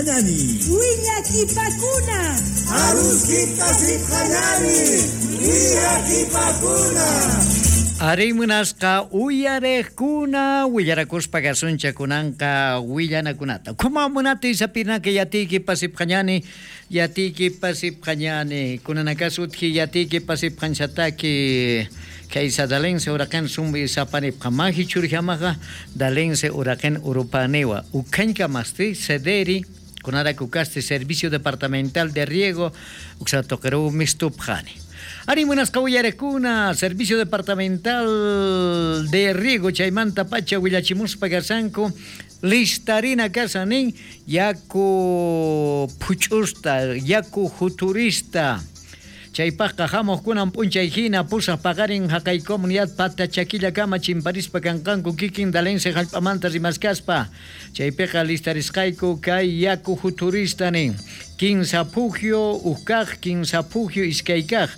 sipqañani. Willakipakuna. Aruskita sipqañani. Willakipakuna. Arí munasqa uyarejkuna willarakuspa kasuncha kunanqa willanakunata. Kuma munati sapinaka yatiki pasipqañani, yatiki pasipqañani, kunanakasutji yatiki pasipqanchataki kaysa dalense uraqen sumbi sapanipqa maji churjamaqa dalense uraqen urupaniwa. Ukanka masti sederi kunara kukasti Servicio Departamental de Riego uksatoqeru mistupqani. Ari munasqa uyarekuna, Servicio Departamental de Riego chaymanta pacha willachimuspa kasanku listarina kasanin yaku phuch'usta, yaku juturista. Chaypaqqa hamuqkunan p'unchay hina pusaq paqarin haqay comunidad pata chakillakama chimparispa kanqanku kikin dalense hallp'amanta rimaskaspa. Chaypiqa listarisqayku kay yaku juturista nin. Kinsa phujio ukkaq, kinsa phujio iskaykaq,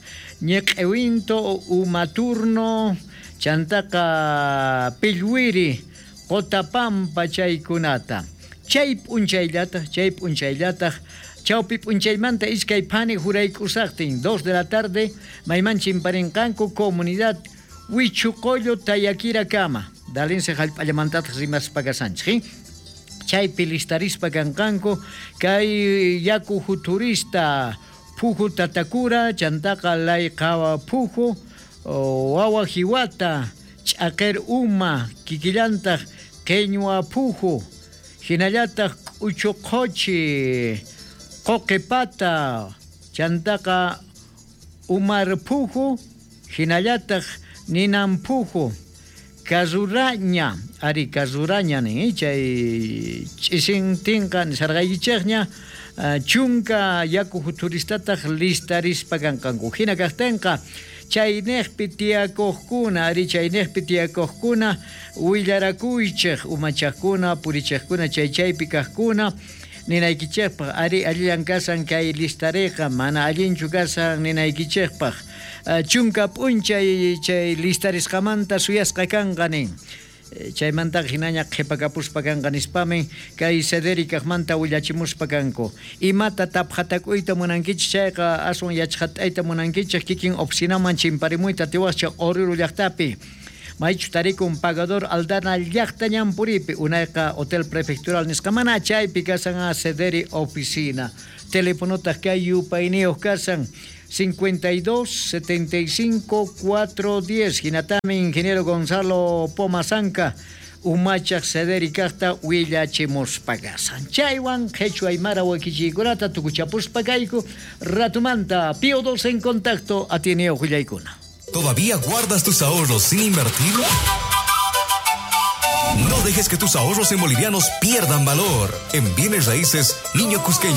ñiq'iwinto umaturno, chantaqa pillwiri, qotapampa chaykunata. Chay p'unchayllataq, chay p'unchayllataq, chawpi p'unchaymanta iskay phani jurayk'usaqtin, 2 de la tarde, mayman chimparinqanku comunidad Huichucollo Tayaquirakama. Dalense hallp'allamantataq rimaspa kasanchik. Chaypi listarispa kanqanku kay yaku juturista phuju tatakura, chantaqa layqa phuju, wawa jiwata, ch'aqer uma, kikillantaq qeñwa phuju, hinallataq k'uchuqhuchi, qoqipata, chantaqa umar phuju, hinallataq ninan phuju, kasuraña, ari kasuraña nin, chay ch'isintinqa nisarqaykichikña, chunka yaku juturistataq listarispa kanqanku. Hina kaqtinqa chayniqpi tiyakuqkuna, ari chayniqpi tiyakuqkuna willarakuychik, umachaqkuna, purichiqkuna, chay chaypi kaqkuna, ninaykichikpaq, ari allillan kasan kay listariqa, mana allinchu kasan ninaykichikpaq. Chunka p'unchay chay listarisqamanta suyasqa kanqa nin. Chaymantaqa hinaña qhipakapuspa kanqa nispamin kay Cedericajmanta willachimuspa kanku. Imata taphatakuyta munankichik chayqa aswan yachqat'ayta munankichik kikin oficinaman chimparimuyta tiwascha Oruro llaqtapi. Maychu tarikun pagador Aldana llaqta ñanpuripi unayqa Hotel Prefectural nisqa mana chaypi kasan a Cederi oficina. Telefonotaq kay yupayniyuq kasan 52 75 410. Hinatami ingeniero Gonzalo Pomazanca umachaq Cederi kaqta willachimuspa kasan. Chaywan qhichwa aymara wakichiykunata tukuchapuspa kayku ratumanta Pío 2 en contacto atineo willaykuna. ¿Todavía guardas tus ahorros sin invertir? No dejes que tus ahorros en bolivianos pierdan valor. En bienes raíces, Niño Cusqueño.